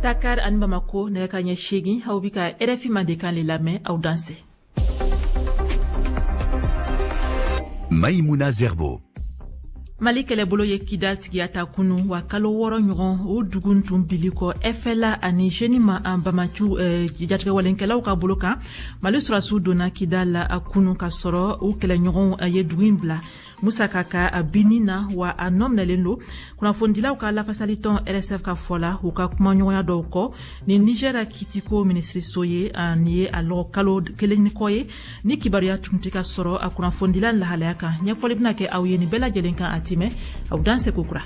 Dakar ani Bamako, nɛgɛ ka ɲɛ 8. Aw bi ka RFI Mandenkan le lamɛn. Aw dansɛ. Maïmouna Zerbo. Mali kɛlɛbolo ye Kidal tigiya ta kunu, wa kalo 6 ɲɔgɔn o dugu tun bili kɔ FLA ani JNIM an bamaciw jatigɛwalenkɛlaw ka bolo kan. Mali sɔrɔdasiw donna Kidal la a kunu ka sɔrɔ u kɛlɛɲɔgɔnw ye dugu in bila. Musa Kaka a binni na, wa a nɔ minɛlen don. Kunnafonidilaw ka lafasalitɔn RSF ka fɔ la, u ka kumaɲɔgɔnya dɔw kɔ ni Niger kitiko minisiriso ye, nin ye a lɔgɔ kalo 1 ni kɔ ye ni kibaruya tun tɛ ka sɔrɔ a kunnafonidila lahalaya kan. Ɲɛfɔli bɛna kɛ aw ye nin bɛɛ lajɛlen kan a timɛ. Aw danse kokura.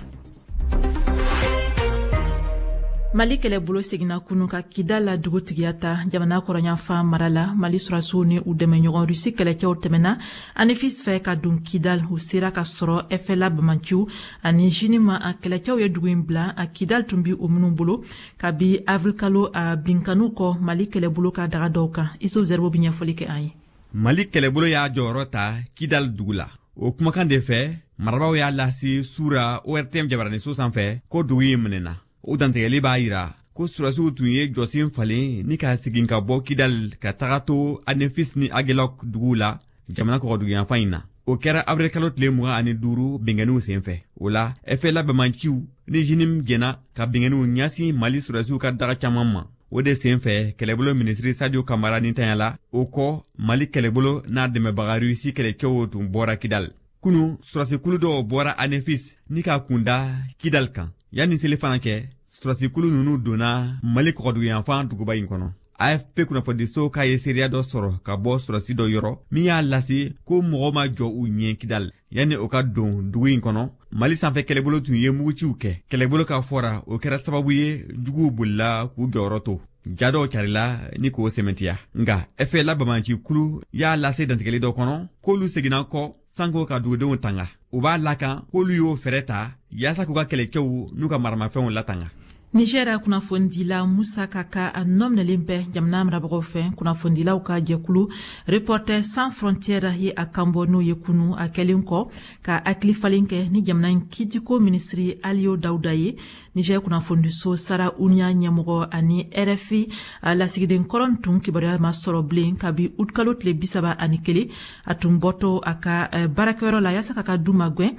Mali kɛlɛbolo seginna kunu ka Kidal la dugutigiya ta jamana kɔrɔnyanfan mara la. Mali sɔrɔdasiw ni u dɛmɛɲɔgɔn Rusi kɛlɛcɛw tɛmɛna Anefis fɛ ka don Kidal. U sera ka sɔrɔ FLA bamaciw ani JNIM a kɛlɛcɛw ye dugu in bila a Kidal tun bi o minnu bolo kabi avril kalo a binkaniw kɔ Mali kɛlɛbolo ka daga dɔw kan. Isuf Zerbo bi ɲɛfɔli kɛ an ye. Mali kɛlɛbolo y'a jɔyɔrɔ ta Kidal dugu la. O kumakan de fɛ, marabaaw y'a lase sura ORTM jabaraniso sanfɛ ko dugu in minɛna. O dantigɛli b'a yira ko sɔrɔdasiw tun ye jɔsen falen ni ka segin ka bɔ Kidal ka taga to Anefis ni Agelok duguw la jamana kɔgɔduguyanfan in na. O kɛra avril kalo tile 25 binkanniw senfɛ. O la, FLA bamanciw ni JNIM jɛna ka binkanniw ɲɛsin Mali sɔrɔdasiw ka daga caman ma. O de senfɛ, kɛlɛbolo minisiri Sadio Kamara nintanyala. O kɔ, Mali kɛlɛbolo n'a dɛmɛbaga Rusi kɛlɛcɛw tun bɔra Kidal. Kunu, sɔrɔdasikulu dɔw bɔra Anefis ni ka kunda Kidal kan. Yanni seli fana kɛ, sɔrɔdasikulu ninnu donna Mali kɔgɔduguyanfan duguba in kɔnɔ. AFP kunnafonidiso k'a ye seereya dɔ sɔrɔ ka bɔ sɔrɔdasi dɔ yɔrɔ min y'a lase ko mɔgɔ ma jɔ u ɲɛ Kidal. Yanni o ka don dugu in kɔnɔ, Mali sanfɛ kɛlɛbolo tun ye muguciw kɛ. Kɛlɛbolo ka fɔra, o kɛra sababu ye juguw bolila k'u jɔyɔrɔ to. Ja dɔw carila ni k'o sɛmɛntiya. Nka FLA bamaci kulu y'a lase dantigɛli dɔ kɔnɔ k'olu seginna kɔ sanko ka dugudenw tanga. U b'a lakan k'olu y'o fɛɛrɛ ta yaasa k'u ka kɛlɛcɛw n'u ka maramafɛnw latanga. Niger kunnafonidila Musa Kaka a nɔ minɛlen bɛ jamana marabagaw fɛ. Kunnafonidilaw ka jɛkulu Reporters sans frontières ye a kanbɔ n'o ye kunu, a kɛlen kɔ ka hakili falen kɛ ni jamana in kiitiko minisiri Aliyo Dawuda ye. Niger kunnafonidiso Sarauniya ɲɛmɔgɔ ani RFI lasigiden kɔrɔ tun kibaruya ma sɔrɔ bilen kabi utikalo tile 31. A tun bɔtɔ a ka baarakɛyɔrɔ la yaasa k'a ka du magɛn.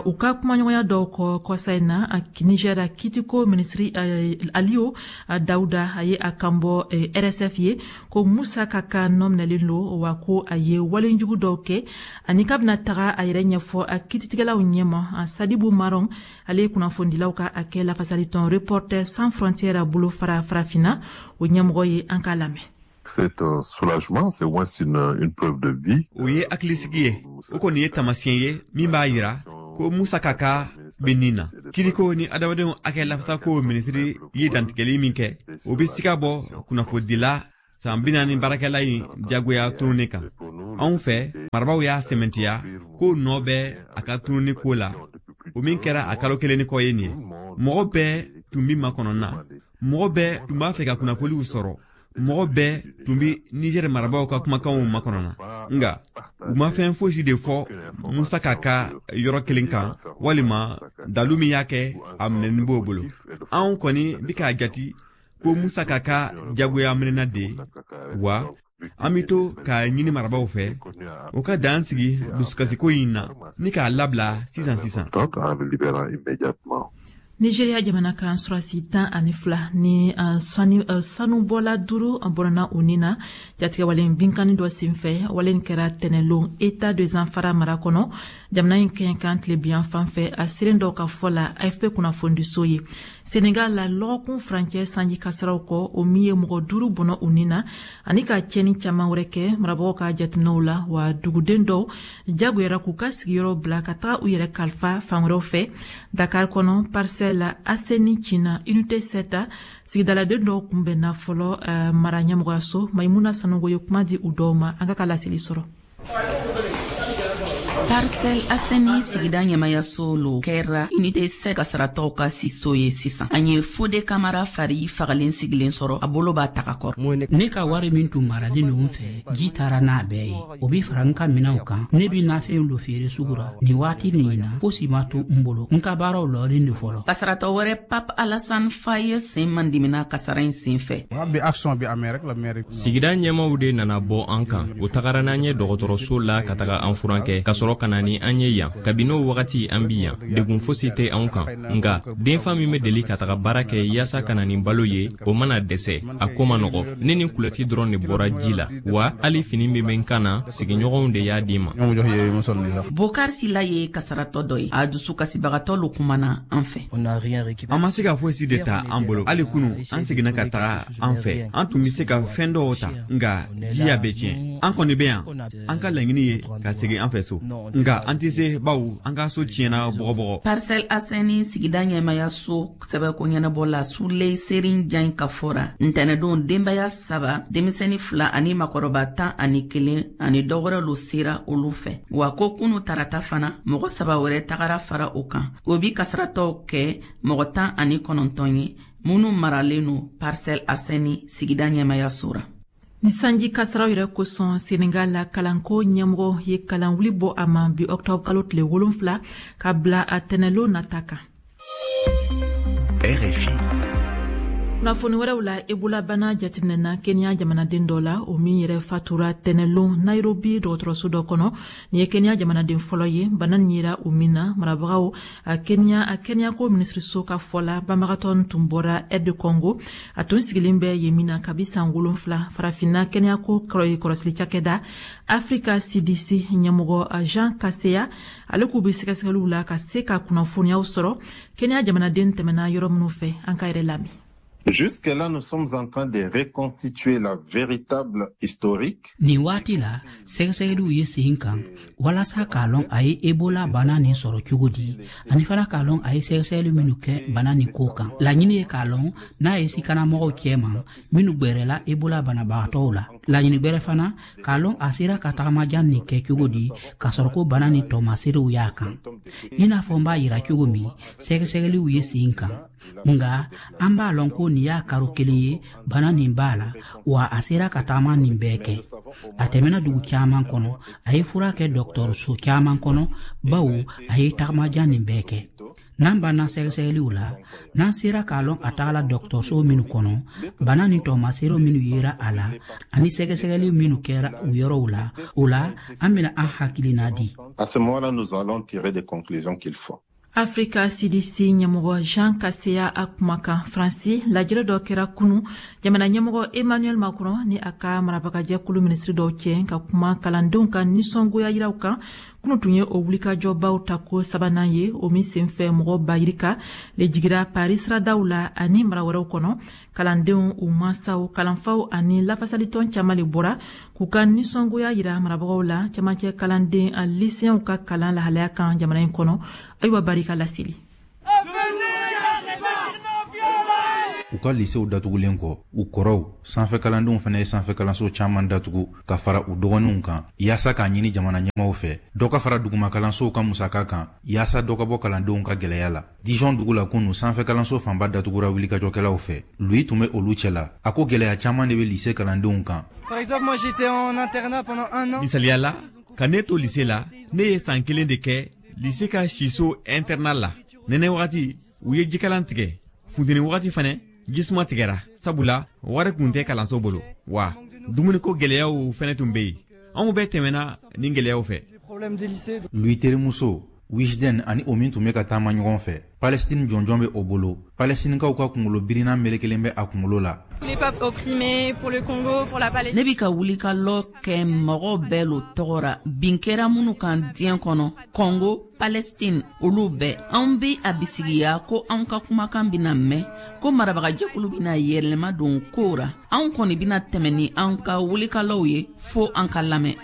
U ka kumaɲɔgɔnya dɔw kɔ kɔsa in na, Niger kiitiko minisiri Aliyo Dawuda a ye a kanbɔ RSF ye ko Musa Kaka nɔ minɛlen don, wa ko a ye walejugu dɔw kɛ ani k'a bɛna taga a yɛrɛ ɲɛfɔ a kiiritigɛlaw ɲɛma. Sadibu Maron, ale ye kunnafonidilaw ka hakɛ lafasalitɔn Reporters sans frontières bolo fara farafinna o ɲɛmɔgɔ ye. An k'a lamɛn. C'est un soulagement, c'est au moins une preuve de vie. O ye hakilisigi ye. O kɔni ye taamasiyɛn ye min b'a yira ko Musa Kaka bɛ nin na. Kiriko ni adamadenw hakɛ lafasako minisiri ye dantigɛli min kɛ, o bɛ siga bɔ kunnafonidila san 40 baarakɛla in jagoya tununi kan. Anw fɛ, marabaaw y'a sɛmɛntiya ko nɔ bɛ a ka tununi ko la, o min kɛra a kalo 1 ni kɔ ye nin ye. Mɔgɔ bɛɛ tun bɛ makɔnɔ na, mɔgɔ bɛɛ tun b'a fɛ ka kunnafoniw sɔrɔ, mɔgɔ bɛɛ tun bɛ Niger marabaaw ka kumakanw makɔnɔ na. Nka u ma fɛn fosi de fɔ Musa Kaka yɔrɔ kelen kan walima dalu min y'a kɛ a minɛni b'o bolo. Anw kɔni bi k'a jati ko Musa Kaka jagoya minɛna de, wa an bɛ to k'a ɲini marabaaw fɛ u ka dan sigi dusukasiko in na ni k'a labila sisan sisan. Nigeria jamana kan, sɔrɔdasi 12 ni sanubɔla 5 bɔnna u ni na jatigɛwalen binkanni dɔ senfɛ. Wale kɛra tɛnɛlon État de Zamfara mara kɔnɔ, jamana in kɛɲɛ tilebiyan fan fɛ, a seren dɔw ka fɔ la AFP kunnafonidiso ye. Senegal la, lɔgɔkun furancɛ sanji kasaraw kɔ, o min ye mɔgɔ 5 bɔnɔ u ni na ani ka tiɲɛni caman wɛrɛ kɛ marabagaw ka jateminɛw la, wa duguden dɔw jagoyara k'u ka sigiyɔrɔ bila ka taga u yɛrɛ kalifa fan wɛrɛw fɛ. Dakar kɔnɔ, Parcelles Assainies Cina unité 7 sigidaladen dɔw kunbɛnna fɔlɔ mara ɲɛmɔgɔyaso. Maimuna Sanogo ye kuma di u dɔw ma. An ka laseli sɔrɔ. Parcelles Assainies sigida ɲɛmayaso lo kɛra unité 7 kasaratɔw ka siso ye sisan. An ye Fode Kamara fari fagalen sigilen sɔrɔ, a bolo b'a taga kɔrɔ. Ne ka wari min tun maralen don n fɛ, ji taara n'a bɛɛ ye. O bi fara n ka minɛnw kan. Ne bi nafɛn lo feere sugu ra nin waati nin na, fosi ma to n bolo. N ka baaraw lɔlen de fɔlɔ. Kasaratɔ wɛrɛ, Pape Alassane Faye, sen mandimina kasara in sen fɛ. Sigida ɲɛmaw de nana bɔ an kan. U tagara n'an ye dɔgɔtɔrɔso la ka taga an furakɛ, ka sɔrɔ ka na ni an ye yan. Kabini o wagati an bi yan, degun fosi tɛ anw kan. Nka denfa min bɛ deli ka taga baara kɛ yaasa ka na ni balo ye, o mana dɛsɛ, a ko ma nɔgɔ. Ne ni kulɔti dɔrɔn de bɔra ji la, wa hali fini min bɛ n kan na, sigiɲɔgɔnw de y'a di ma. Bokar Sila ye kasaratɔ dɔ ye. A dusu kasibagatɔ lo kumana an fɛ. An ma se ka fosi de ta an bolo. Hali kunu, an seginna ka taga an fɛ. An tun bɛ se ka fɛn dɔw ta, nka ji y'a bɛɛ tiɲɛ. An kɔni bɛ yan, an ka laɲini ye ka segin an fɛ so, nka an tɛ se, bawo an ka so tiɲɛna bɔgɔbɔgɔ. Parcelles Assainies sigida ɲɛmayaso sɛbɛko ɲɛnabɔ la, Suley Serin Jan ka fɔra, ntɛnɛdon denbaya saba, denmisɛnnin fila ani makɔrɔba 11 ani dɔ wɛrɛ lo sera olu fɛ. Wa ko kunu tarata fana, mɔgɔ saba wɛrɛ tagara fara o kan. O bi kasaratɔw kɛ mɔgɔ 19 ye minnu maralen no Parcelles Assainies sigida ɲɛmayaso ra. Ni sanji kasaraw yɛrɛ kosɔn, Senegal la kalanko ɲɛmɔgɔ ye kalanwuli bɔ a ma bi octobre kalo tile 7 ka bila a tɛnɛlon nata kan. RFI. Kunnafoni wɛrɛw la, Ebola bana jateminɛna Kenya jamanaden dɔ la, o min yɛrɛ fatura tɛnɛlon Nairobi dɔgɔtɔrɔso dɔ kɔnɔ. Nin ye Kenya jamanaden fɔlɔ ye bana nin yera o min na. Marabagaw a Kenya a kɛnɛyako minisiriso ka fɔ la, banbagatɔ tun bɔra RD Congo, a tun sigilen bɛ yen min na kabi san 7. Farafinna kɛnɛyako kɔrɔsili cakɛda Africa CDC ɲɛmɔgɔ Jean Kaseya, ale k'u bɛ sɛgɛsɛgɛliw la ka se ka kunnafoniyaw sɔrɔ Kenya jamanaden tɛmɛna yɔrɔ minnu fɛ. An ka yɛrɛ lamɛn. Jusque-là, nous sommes en train de reconstituer la véritable historique. Nin waati la, sɛgɛsɛgɛliw ye sen kan walasa k'a lɔn a ye Ebola bana nin sɔrɔ cogo di, ani fana k'a lɔn a ye sɛgɛsɛgɛli minnu kɛ bana nin ko kan. Laɲini ye k'a lɔn n'a ye sikanamɔgɔw cɛma minnu gwɛrɛla Ebola banabagatɔw la. Laɲini gwɛrɛ fana, k'a lɔn a sera ka tagamajan nin kɛ cogo di k'a sɔrɔ ko bana nin tɔmaserew y'a kan. I n'a fɔ n b'a yira cogo min, sɛgɛsɛgɛliw ye sen kan. Nga an b'a lɔn ko nin y'a karo kelen ye bana nin b'a la, wa a sera ka taama nin bɛɛ kɛ. A tɛmɛna dugu caman kɔnɔ, a ye fura kɛ dɔgɔtɔrɔso caman kɔnɔ, bawo a ye tagamajan nin bɛɛ kɛ. N'an banna sɛgɛsɛgɛliw la, n'an sera k'a lɔn a tagala dɔgɔtɔrɔso minnu kɔnɔ, bana nin tɔmasere minnu yera a la ani sɛgɛsɛgɛli minnu kɛra u yɔrɔw la, o la an bɛna an hakilina di. À ce moment-là, nous allons tirer des conclusions qu'il faut. Afrika CDC ɲɛmɔgɔ Jean Kaseya a kumakan. Faransi, lajɛrɛ dɔ kɛra kunu jamana ɲɛmɔgɔ Emmanuel Macron ni a ka marabagajɛkulu minisiri dɔw cɛ ka kuma kalandenw ka nisɔngoya yiraw kan. Kunu tun ye o wulikajɔbaw ta ko sabanan ye, o min senfɛ mɔgɔ bayirika le jigira Paris siradaw la ani mara wɛrɛw kɔnɔ. Kalandenw, u mansaw, kalanfaw ani lafasalitɔn caman le bɔra k'u ka nisɔngoya yira marabagaw la camancɛ kalanden a lycéenw ka kalan lahalaya kan jamana in kɔnɔ. Ayiwa, barika laseli. U ka lisew datugulen kɔ, u kɔrɔw sanfɛ kalandenw fana ye sanfɛ kalanso caman datugu ka fara u dɔgɔninw kan, yaasa k'a ɲini jamana ɲɛmaw fɛ dɔ ka fara duguma kalansow ka musaka kan, yaasa dɔ ka bɔ kalandenw ka gwɛlɛya la. Dijon dugu la kunu, sanfɛ kalanso fanba datugura wulikajɔkɛlaw fɛ. Louis tun bɛ olu cɛ la. A ko gwɛlɛya caman de bɛ lise kalandenw kan. Misaliya la, ka ne to lise la, ne ye san kelen de kɛ lise ka siso internat la. Nɛnɛ wagati, u ye jikalan tigɛ. Funteni wagati fɛnɛ, jisuma tigɛra, sabula wari kun tɛ kalanso bolo, wa dumuniko gwɛlɛyaw fɛnɛ tun be yen. Anw bɛɛ tɛmɛna nin gwɛlɛyaw fɛ. Louis terimuso Wijden ani o min tun bɛ ka taama ɲɔgɔn fɛ, Palestine jɔnjɔn bɛ o bolo. Palestinikaw ka kunkolo birina melekelen bɛ a kunkolo la. Ne bi ka wuli ka lɔ kɛ mɔgɔ bɛɛ lo tɔgɔ ra, bin kɛra minnu kan diɲɛ kɔnɔ, Congo, Palestine, olu bɛɛ. Anw be a bisigiya ko anw ka kumakan bena mɛn, ko marabagajɛkulu bena yɛlɛma don kow ra. Anw kɔni bena tɛmɛ ni an ka wulikalaw ye fo an ka lamɛn.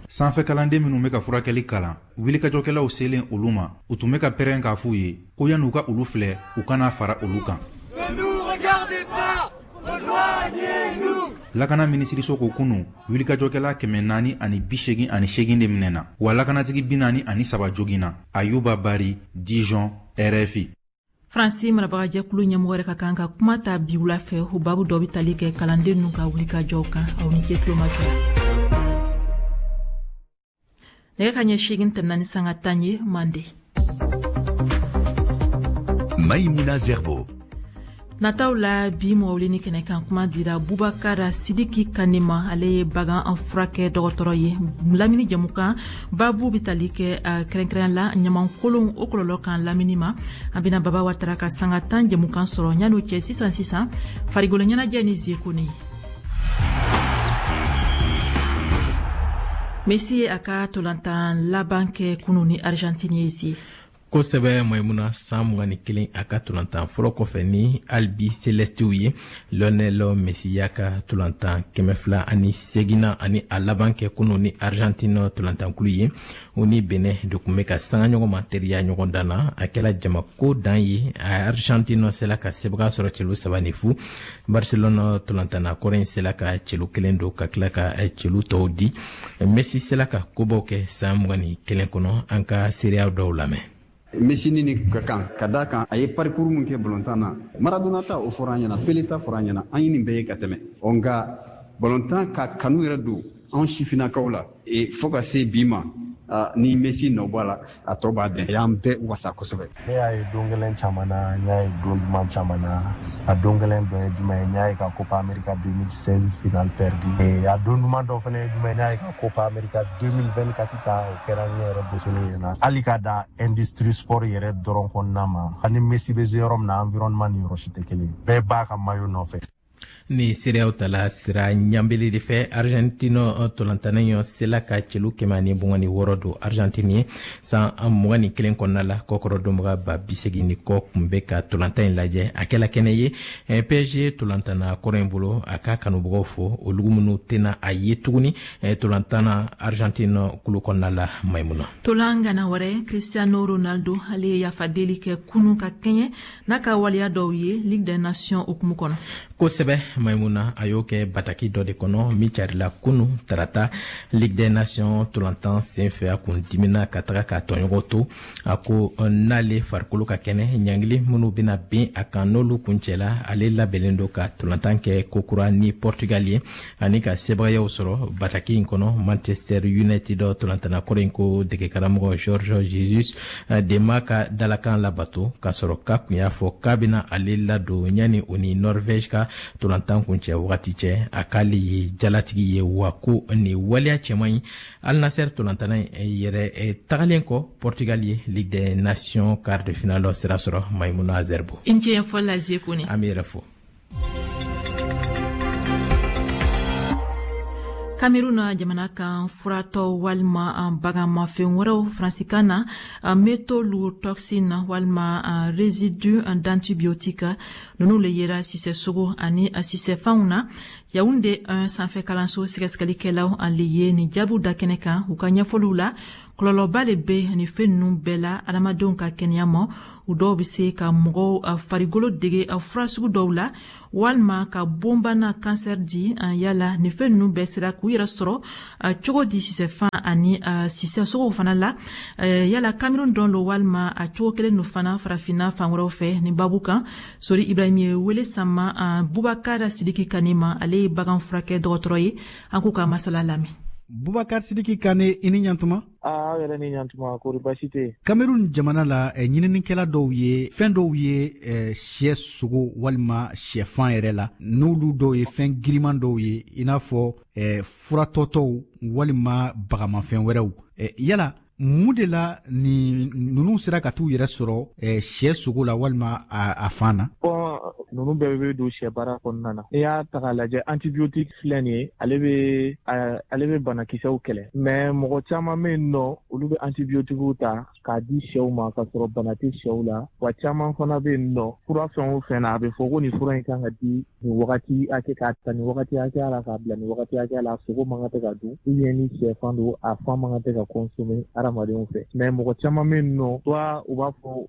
Sanfɛ kalanden minnu bɛ ka furakɛli kalan, wulikajɔkɛlaw selen olu ma, u tun bɛ ka pɛrɛn k'a f'u ye ko yan'u ka olu filɛ, u kana fara olu kan. Rejoignez-nous! Lakana minisiriso ko kunu wulikajɔkɛla 488 de minɛna, wa lakanatigi 43 joginna. Ayuba Bari, Dijon, RFI. Faransi marabagajɛkulu ɲɛmɔgɔ yɛrɛ ka kan ka kuma ta bi wula fɛ. O babu dɔ bɛ tali kɛ kalanden ninnu ka wulikajɔw kan. Aw ni ce tulomajɔ la. Nɛgɛ ka ɲɛ 8 tɛmɛna ni sanga 10 ye mande. Maïmouna Zerbo. Nataw la, bi mɔgɔ wuleni kɛnɛ kan, kuma dira Bubakara Sidiki Kane ma. Ale ye bagan an furakɛ dɔgɔtɔrɔ ye. Lamini jɛmukan babu bɛ tali kɛ kɛrɛnkɛrɛnya la ɲamankolon, o kɔlɔlɔ kan lamini ma. An bɛna Baba Watara ka sanga 10 jɛmukan sɔrɔ. Yan'o cɛ, sisan sisan, farikolo ɲɛnajɛ ni Zekone ye. Messi ye a ka tolantan laban kɛ kunu ni Argentine ye, Zie. Kosɛbɛ, Maimuna. San 21 a ka tolantan fɔlɔ kɔfɛ ni Albicelestew ye, Lionel Messi y'a ka tolantan 208nan ani a laban kɛ kunu ni Argentine tolantankulu ye. O ni Benin de tun bɛ ka sanga ɲɔgɔn ma teriya ɲɔgɔn dan na. A kɛla jamako dan ye. Argentine sela ka sebaga sɔrɔ celu 3-0. Barcelone tolantanna kɔrɔ in sela ka celu kelen don ka tila ka celu tɔw di. Messi sela ka kobaw kɛ san 21 kɔnɔ. An ka seereya dɔw lamɛn. Messi ni ka kan ka d'a kan, a ye parcours mun kɛ balontan na, Maradona ta, o fɔra an ɲɛna, Pele ta fɔra an ɲɛna, an ye nin bɛɛ ye ka tɛmɛ. Ɔ nka balontan ka kanu yɛrɛ don anw sifinnakaw la e fo ka se bi ma, ni Messi nɔ bɔ a la, a tɔ b'a dɛn. A y'an bɛɛ wasa kosɛbɛ. Ne y'a ye don gɛlɛn caman na, n y'a ye don duman caman na. A don gɛlɛn dɔ ye jumɛn ye? N y'a ye ka Copa America 2016 finale perdu. A don duman dɔ fana ye jumɛn ye? N y'a ye ka Copa America 2024 ta, o kɛra ne yɛrɛ bosoni ɲɛna. Hali ka da industrie sport yɛrɛ dɔrɔn kɔnɔna ma, ani Messi bɛ jouer yɔrɔ min na, environnement ni yɔrɔ si tɛ kelen ye. Bɛɛ b'a ka maillot nɔfɛ. Ni seereyaw tala sira ɲanbele de fɛ, Argentine tolantana ɲɔ sela ka celu 126 don Argentine ye san 21 kɔnɔna la. Kɔkɔrɔ donbaga ba 80 ni kɔ kun bɛ ka tolantan in lajɛ. A kɛla kɛnɛ ye PSG tolantanna kɔrɔ in bolo, a ka kanubagaw fo, olugu minnu tɛna a ye tuguni tolantanna Argentine kulu kɔnɔna la, Maimuna. Tolan gana wɛrɛ, Cristiano Ronaldo, ale ye yafadeli kɛ kunu ka kɛɲɛ n'a ka waleya dɔw ye Ligue des Nations hukumu kɔnɔ. Kosɛbɛ, Maimuna. A y'o kɛ bataki dɔ de kɔnɔ min carila kunu tarata Ligue des Nations tolantan sen fɛ. A kun dimina ka taga k'a tɔɲɔgɔn to. A ko n'ale farikolo ka kɛnɛ, ɲangili minnu bɛna bin a kan, n'olu kuncɛla, ale labɛnnen don ka tolantan kɛ kokura ni Portugal ye ani ka sebagayaw sɔrɔ. Bataki in kɔnɔ, Manchester United tolantanna kɔrɔ in ko degekaramɔgɔ George Jesus de ma ka dalakan labato, k'a sɔrɔ k'a kun y'a fɔ k'a bɛna ale ladon yanni o ni Norvège ka tolantan kuncɛ wagati cɛ. A k'ale ye jalatigi ye, wa ko nin waleya cɛman ɲi. Al Nassr tolantanna yɛrɛ tagalen kɔ, Portugal ye Ligue des Nations quart de finale sira sɔrɔ, Maimuna Zerbo. I ni ce ɲɛfɔli la, Zekone. An bɛ yɛrɛ fo. Cameroun jamana kan, furatɔ walima baganmafɛn wɛrɛw, faransikan na métaux lourds toxines walima résidu d'antibiotique, ninnu le yera sisɛ sogo ani sisɛfanw na. Yaounde 1 sanfɛ kalanso sɛgɛsɛgɛlikɛlaw ale ye nin jaabiw da kɛnɛ kan. U ka ɲɛfɔliw la, kɔlɔlɔba le bɛ nin fɛn ninnu bɛɛ la adamadenw ka kɛnɛya ma. U dɔw bɛ se ka mɔgɔw farikolo dege fura sugu dɔw la walima ka bonbana, kansɛri di. Yala nin fɛn ninnu bɛɛ sera k'u yɛrɛ sɔrɔ cogo di sisɛfan ani sisɛ sogow fana la? Yala Cameroun dɔn lo walima a cogo kelen don fana farafinna fan wɛrɛw fɛ? Nin babu kan, Sori Ibrahim ye wele sama Bubakar Sidiki Kane ma. Ale ye bagan furakɛ dɔgɔtɔrɔ ye. An k'u ka masala lamɛn. Bubakar Sidiki Kane, i ni ɲantuma. Aw yɛrɛ ni ɲantuma, kori basi tɛ? Cameroun jamana la, ɲininikɛla dɔw ye fɛn dɔw ye siyɛ sogo walima siyɛfan yɛrɛ la, n'olu dɔw ye fɛn giriman dɔw ye, i n'a fɔ furatɔtɔw walima bagamafɛn wɛrɛw. Yala mun de la ni ninnu sera ka t'u yɛrɛ sɔrɔ siyɛ sogo la walima a fan na? Bon, ninnu bɛɛ bɛ don sɛ baara kɔnɔna na. N'i y'a ta k'a lajɛ, antibiotique filɛ nin ye, ale bɛ banakisɛw kɛlɛ, mais mɔgɔ caman bɛ yen nɔ, olu bɛ antibiotiques ta k'a di sɛw ma k'a sɔrɔ bana tɛ sɛw la. Wa caman fana bɛ yen nɔ, fura fɛn o fɛn na, a bɛ fɔ ko nin fura in kan ka di nin wagati hakɛ, k'a ta nin wagati hakɛya la k'a bila nin wagati hakɛya la, sogo man kan tɛ ka dun, ou bien ni sɛfan don, a fan man kan tɛ ka consommer hadamadenw fɛ. Mais mɔgɔ caman bɛ yen nɔ, soit u b'a fɔ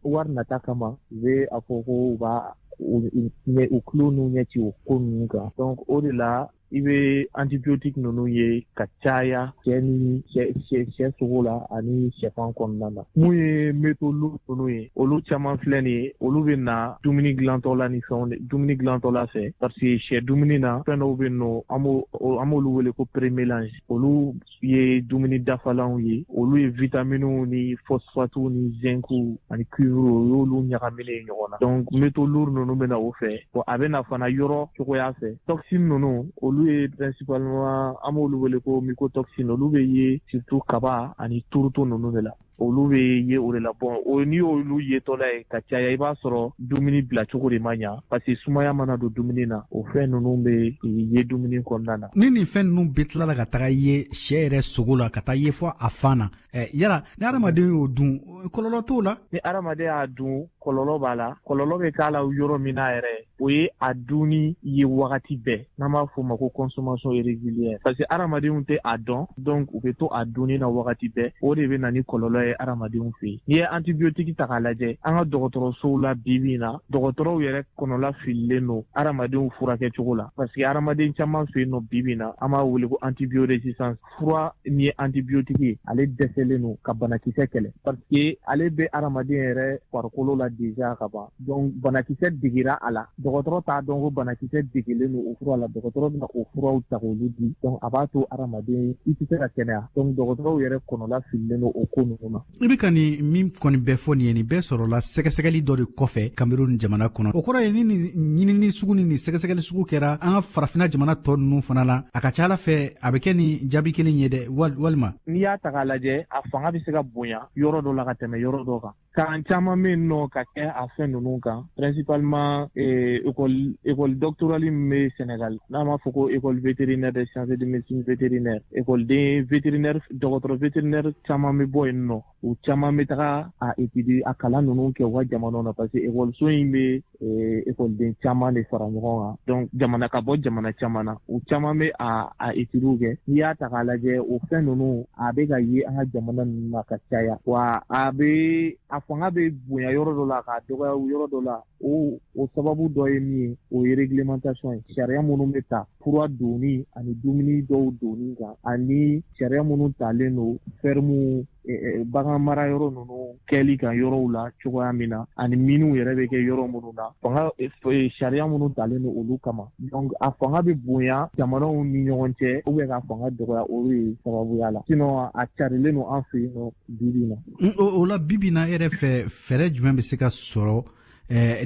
wari nata kama, u bɛ a fɔ ko u b'a u tulo n'u ɲɛ ci o ko ninnu kan. Donc o de la i bɛ antibiotique ninnu ye ka caya sɛ ni sɛ sogo la ani sɛfan kɔnɔna na. Mun ye métaux lourds ninnu ye, olu caman filɛ nin ye, olu bɛ na dumuni dilantɔ la ni fɛnw, dumuni dilantɔ la fɛ, parce que sɛ dumuni na fɛn dɔw bɛ yen nɔ, an b'olu wele ko prémélange. Olu ye dumuni dafalanw ye, olu ye vitaminiw ni phosphatiw ni zinciw ani cuivre, o y'olu ɲagaminen ɲɔgɔn na. Donc métaux lourds ninnu bɛ na o fɛ. Bon, a bɛ na fana yɔrɔ cogoya fɛ. Toxine ninnu, olu ye principalement, an b'olu wele ko mycotoxine, olu bɛ ye surtout kaba ani turuto ninnu de la. Olu bɛ ye o de la. Bon, o n'i y'olu yetɔla ye ka caya, i b'a sɔrɔ dumuni bilacogo de ma ɲa, parce que sumaya mana don dumuni na, o fɛn ninnu bɛ ye dumuni kɔnɔna na. Ni nin fɛn ninnu bɛ tilala ka taga ye sɛ yɛrɛ sogo la, ka taa ye fɔ a fan na, yala ni hadamaden y'o dun, kɔlɔlɔ t'o la? Ni hadamaden y'a dun, kɔlɔlɔ b'a la. Kɔlɔlɔ bɛ k'a la yɔrɔ min na yɛrɛ, o ye a dunni ye wagati bɛɛ, n'an b'a fɔ o ma ko consommation irrégulière, parce que hadamadenw tɛ a dɔn, donc u bɛ to a dunni na wagati bɛɛ, o de bɛ na ni kɔlɔlɔ ye hadamadenw fɛ yen. N'i ye antibiotique ta k'a lajɛ, an ka dɔgɔtɔrɔsow la bi bi in na, dɔgɔtɔrɔw yɛrɛ kɔnɔla fililen don hadamadenw furakɛ cogo la, parce que hadamaden caman fɛ yen nɔ bi bi in na, an b'a wele ko antibiorésistance. Fura min ye antibiotique ye, ale dɛsɛlen don ka banakisɛ kɛlɛ, parce que ale bɛ hadamaden yɛrɛ farikolo la déjà ka ban. Donc banakisɛ digira a la, dɔgɔtɔrɔ t'a dɔn ko banakisɛ degelen don o fura la, dɔgɔtɔrɔ bɛna o furaw ta k'olu di, donc a b'a to hadamaden i tɛ se ka kɛnɛya. Donc dɔgɔtɔrɔw yɛrɛ kɔnɔla fililen don o ko ninnu na. I bɛ ka nin min kɔni bɛɛ fɔ nin ye, nin bɛɛ sɔrɔla sɛgɛsɛgɛli dɔ de kɔfɛ Cameroun jamana kɔnɔ. O kɔrɔ ye ni nin ɲinini sugu ni nin sɛgɛsɛgɛli sugu kɛra an ka farafinna jamana tɔ ninnu fana la, a ka ca ala fɛ a bɛ kɛ nin jaabi kelen ye dɛ, walima? N'i y'a ta k'a lajɛ, a fanga bɛ se ka bonya yɔrɔ dɔ la ka tɛmɛ yɔrɔ dɔ kan. Kalan caman bɛ yen nɔ ka kɛ a fɛn ninnu kan, principalement école doctorale min bɛ Sénégal, n'an b'a fɔ ko école vétérinaire des sciences de médecine vétérinaire. École vétérinaire, dɔgɔtɔrɔ vétérinaire caman bɛ bɔ yen nɔ, u caman bɛ taga a étudier, a kalan ninnu kɛ u ka jamanaw na, parce que école in bɛ écoleden caman de fara ɲɔgɔn kan, donc jamana ka bɔ jamana caman na, u caman bɛ a étudier kɛ. N'i y'a ta k'a lajɛ, o fɛn ninnu a bɛ ka ye an ka jamana ninnu na ka caya, wa a bɛ a fanga bɛ bonya yɔrɔ dɔ la k'a dɔgɔya yɔrɔ dɔ la. O sababu dɔ ye min ye, o ye réglementation ye, sariya minnu bɛ ta fura donni ani dumuni dɔw donni kan, ani sariya minnu talen don ferme, bagan mara yɔrɔ ninnu kɛli kan yɔrɔw la cogoya min na, ani minnu yɛrɛ bɛ kɛ yɔrɔ minnu na, fanga sariya minnu talen don olu kama. Donc a fanga bɛ bonya jamanaw ni ɲɔgɔn cɛ, ou bien k'a fanga dɔgɔya, olu ye sababuya la. Sinon a carilen don an fɛ yen nɔ bi bi in na. O la bi bi in na, e yɛrɛ fɛ, fɛɛrɛ jumɛn bɛ se ka sɔrɔ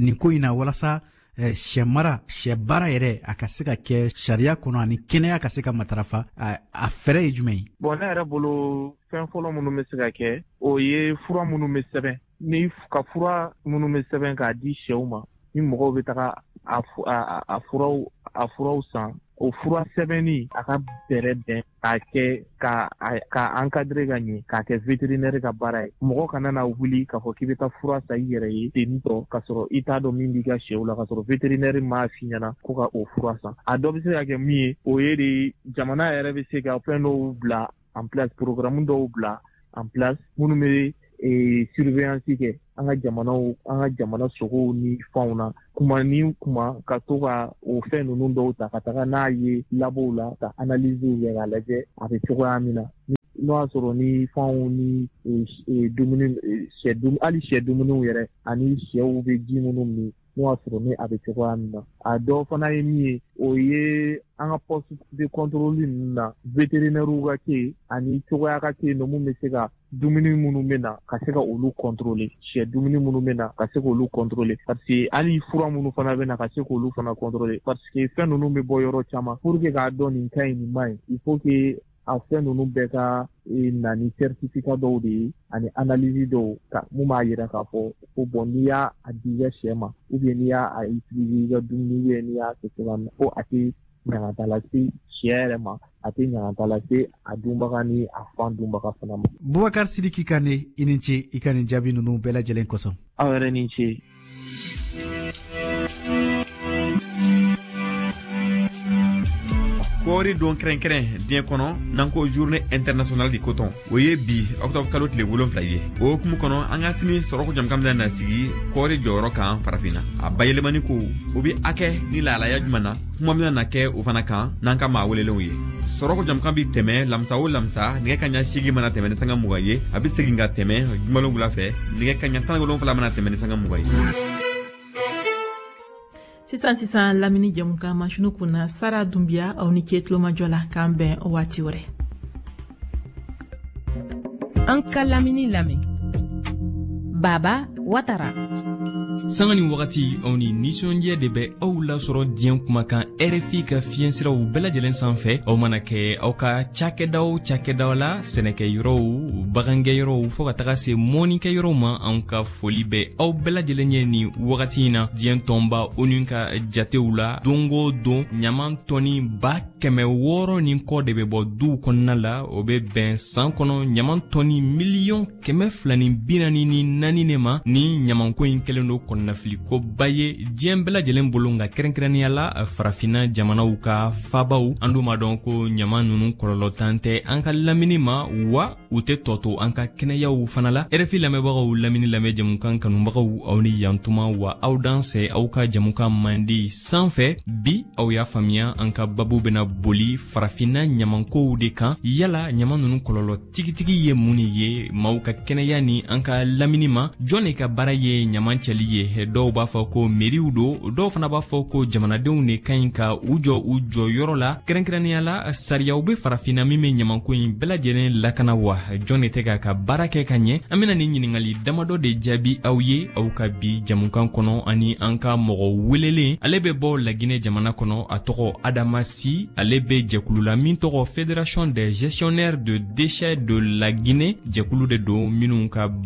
nin ko in na walasa sɛ mara, sɛ baara yɛrɛ, a ka se ka kɛ sariya kɔnɔ ani kɛnɛya ka se ka matarafa? A fɛɛrɛ ye jumɛn ye? Bon, ne yɛrɛ bolo, fɛn fɔlɔ minnu bɛ se ka kɛ, o ye fura minnu bɛ sɛbɛn, ni ka fura minnu bɛ sɛbɛn k'a di sɛw ma, ni mɔgɔw bɛ taga a furaw san, o fura sɛbɛnni a ka bɛrɛ bɛn k'a kɛ ka encadrer ka ɲɛ, k'a kɛ vétérinaire ka baara ye. Mɔgɔ kana na wuli k'a fɔ k'i bɛ taa fura san i yɛrɛ ye ten tɔ, k'a sɔrɔ i t'a dɔn min b'i ka sɛw la, k'a sɔrɔ vétérinaire m'a f'i ɲɛna ko ka o fura san. A dɔ bɛ se ka kɛ min ye, o ye de jamana yɛrɛ bɛ se ka fɛn dɔw bila en place, programme dɔw bila en place minnu bɛ surveillance kɛ an ka jamanaw, an ka jamana sogow ni fanw na kuma ni kuma, ka to ka o fɛn ninnu dɔw ta ka taga n'a ye labow la, ka analyse kɛ k'a lajɛ a bɛ cogoya min na, n'o y'a sɔrɔ ni fanw ni dumuni, sɛ, hali sɛ dumuniw yɛrɛ ani sɛw bɛ ji minnu min, n'o y'a sɔrɔ ni a bɛ cogoya min na. A dɔ fana ye min ye, o ye an ka poste de contrôle ninnu na, vétérinaire ka kɛ yen ani cogoya ka kɛ yen nɔ mun bɛ se ka dumuni minnu bɛ na, ka se ka olu contrôler, sɛ dumuni minnu bɛ na, ka se k'olu contrôler, parce que hali fura minnu fana bɛ na, ka se k'olu fana contrôler, parce que fɛn ninnu bɛ bɔ yɔrɔ caman. Pour que k'a dɔn nin ka ɲi, nin man ɲi, il faut que a fɛn ninnu bɛɛ ka na ni certificat dɔw de ye ani analyse dɔw ka mun b'a yira k'a fɔ ko bon, n'i y'a di i ka sɛ ma, ou bien n'i y'a utiliser i ka dumuni, ou bien n'i y'a kɛ cogoya min na, ko a tɛ ɲangata lase sɛ yɛrɛ ma, a tɛ ɲangata lase a dunbaga ni a fan dunbaga fana ma. Bubakar Sidiki Kane, i ni ce i ka nin jaabi ninnu bɛɛ lajɛlen kosɔn. Aw yɛrɛ ni ce. Kɔɔri don kɛrɛnkɛrɛn diɲɛ kɔnɔ, n'an ko Journée internationale du coton, o ye bi octobre kalo tile 7 ye. O hukumu kɔnɔ, an ka sini sɔrɔko jamukan bɛna na sigi kɔɔri jɔyɔrɔ kan Farafinna. A bayɛlɛmani ko, o be a kɛ ni lahalaya juman na, kuma bɛna na kɛ o fana kan n'an ka maa welelenw ye. Sɔrɔko jamukan bi tɛmɛ lamisa o lamisa, nɛgɛ kaɲa 8 mana tɛmɛ ni sanga 20 ye. A be segin ka tɛmɛ jumalon wula fɛ, nɛgɛ kaɲa 17 mana tɛmɛ ni sanga 20 ye. Sisan sisan, lamini jɛmukan masinu kunna, Sara Dunbiya. Aw ni ce tulomajɔ la, k'an bɛn waati wɛrɛ. An ka lamini lamɛn, Baba Watara. Sanga ni wagati, aw ni nisɔndiya de bɛ aw lasɔrɔ diɲɛ kumakan RFI ka fiɲɛsiraw bɛɛ lajɛlen sanfɛ. Aw mana kɛ aw ka cakɛda o cakɛdaw la, sɛnɛkɛyɔrɔw, bagangɛyɔrɔw, fɔɔ ka taga se mɔnikɛyɔrɔw ma, anw ka foli bɛ aw bɛɛ lajɛlen ye nin wagati in na. Diɲɛ tɔnba ONU ka jatew la, don o don ɲaman tɔni 600,000 ni kɔ de bɛ bɔ duw kɔnɔna la. O bɛ bɛn san kɔnɔ ɲaman tɔni 244 miliyɔn de ma. Ni ɲamanko in kɛlen don kɔnɔnafilikoba ye diɲɛ bɛɛ lajɛlen bolo, nka kɛrɛnkɛrɛnnenya la Farafinna jamanaw ka fabaw. An dun b'a dɔn ko ɲaman nunu kɔlɔlɔtan tɛ an ka lamini ma, wa u tɛ tɔ to an ka kɛnɛyaw fana la. RFI lamɛnbagaw, lamini lamɛn jamukan kanubagaw, aw ni yantuma wa aw dansɛ aw ka jamukan mandi sanfɛ. Bi, aw y'a faamuya, an ka babu bena boli Farafinna ɲamankow de kan. Yala ɲaman nunu kɔlɔlɔ tigitigi ye mun de ye maaw ka kɛnɛya ni an ka lamini ma? Jɔn de ka baara ye ɲaman cɛli ye? Dɔw b'a fɔ ko meriw don, dɔw fana b'a fɔ ko jamanadenw de ka ɲi ka u jɔ u jɔyɔrɔ la. Kɛrɛnkɛrɛnnenya la, sariyaw be Farafinna min be ɲamanko in bɛɛ lajɛlen lakana wa? Jɔn de tɛ k'a ka baara kɛ ka ɲɛ? An bena nin ɲiningali damadɔ de jaabi aw ye aw ka bi jamukan kɔnɔ, ani an ka mɔgɔ welelen. Ale bɛ bɔ Laginɛ jamana kɔnɔ, a tɔgɔ Adama Si. Ale bɛ jɛkulu la min tɔgɔ Fédération des gestionnaires de déchets de la Guinée. Jɛkulu de don minnu ka baara